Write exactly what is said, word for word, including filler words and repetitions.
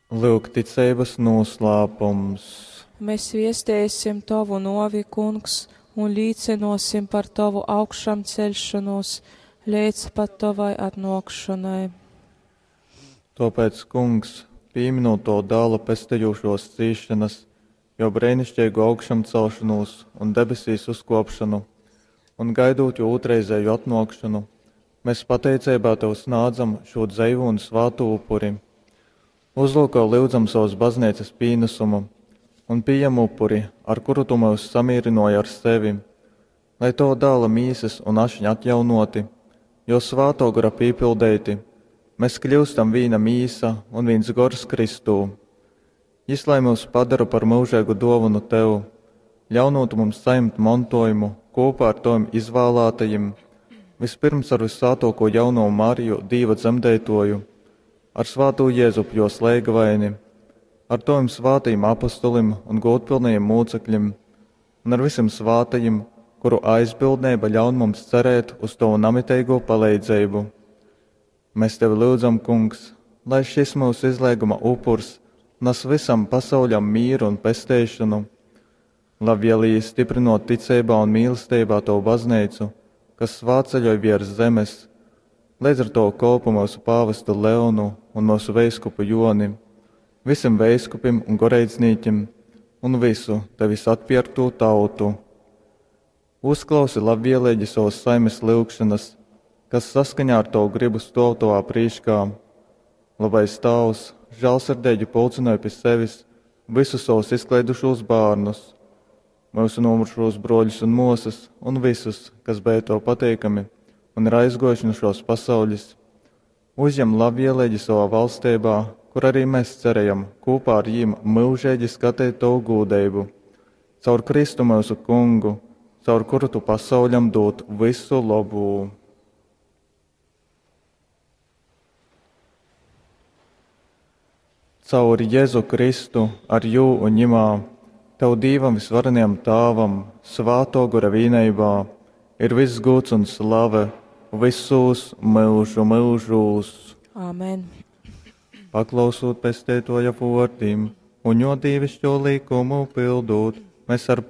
Lyuk ticeibas noslēpums. Mēs viestēsim Tavu novi, Kungs, un līcinosim par Tavu augšām celšanos līdz pat Tavai atnākšanai. Tāpēc, Kungs, pieminot to dēla pestejušos cīšanas, jo brēnišķīgu augšām celšanos un debesīs uzkopšanu, un gaidot jo otrreizēju atnākšanu, mēs pateicībā Tev snādzam šo dzeivu un svātu upuri. Uzlūko lūdzam savas baznīcas pienesumu un pieņem upuri, ar kuru Tu mūs samierināji ar sevi, lai Tava dēla mīsas un ašņa atjaunoti, jo svāto gara pīpildēti, mēs kļūstam vīna mīsa un viens gors Kristū. Jis lai mūs padara par mūžīgu dāvanu Tev, ļaunot mums saņemt mantojumu kopā ar Taviem izvēlētajiem, vispirms ar vissvētāko jauno Mariju, Dīva dzemdētoju, ar svāto Jēzupu jos leigavaini, ar Taviem svātajiem apustulim un godpilnajiem mūcekļiem, un ar visiem svātajiem, kuru aizbildnība ļaun mums cerēt uz Tavu namiteigo palīdzību. Mēs Tevi lūdzam, Kungs, lai šis mūsu izlēguma upurs nes visam pasauļam mīru un pesteišanu, labvēlīgi stiprinot ticībā un mīlestībā Tavu baznīcu, kas svātceļoj virs zemes, līdz ar to kolpu mūsu pāvestu Leonu un mūsu veiskupu Joni, visiem veiskupim un goreidznīķim un visu Tevis atpierkto tautu. Uzklausi labvēlīgi savas saimes lūgšanas, kas saskaņā ar Tavu gribu stāv Tavā prīškā. Labais Tēvs, žēlsirdīgi pulcināja pie sevis visus savus izklaidušos bērnus, mūsu nomurušos broļus un mūsas un visus, kas bija Tev pateikami un ir aizgojuši no šos pasaules. Uzņem labvēlīgi savā valstībā, kur arī mēs cerējam kopā ar jiem mūžīgi skatīt Tavu gūdību. Caur Kristu mūsu kungu, caur kuru Tu pasauļam dod visu labu. Caur Jēzu Kristu, ar jū un ņimā, Tev Dīvam visvarenajam Tāvam, svāto gora vīneibā, ir viss gūts un slave visos mūžu mūžūs. Āmen. Paklausot pestētoja vārdiem un jo dīvišķo likumu pildot, mēs ar